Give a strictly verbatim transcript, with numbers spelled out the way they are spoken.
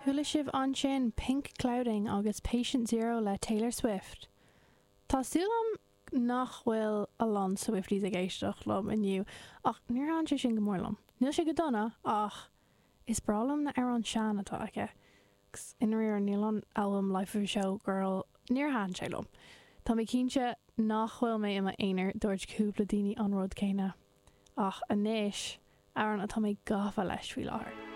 Chuala sibh ansin Pink Clouding agus Patient Zero le Taylor Swift. Tá súil agam nach bhfuil a lán Swifties ag éisteacht liom inniu ach níor thaitin sé sin go mór liom. Níl sé go dona ach is breá liom na hamhráin sean atá aici. I ndáiríre níl an album Life of a Showgirl níor thaitin sé liom. Tá mé cinnte nach bhfuil mé i m'aonar dúirt cúpla daoine an rud céanna. Ach anois amhrán atá mé gafa leis faoi láthair.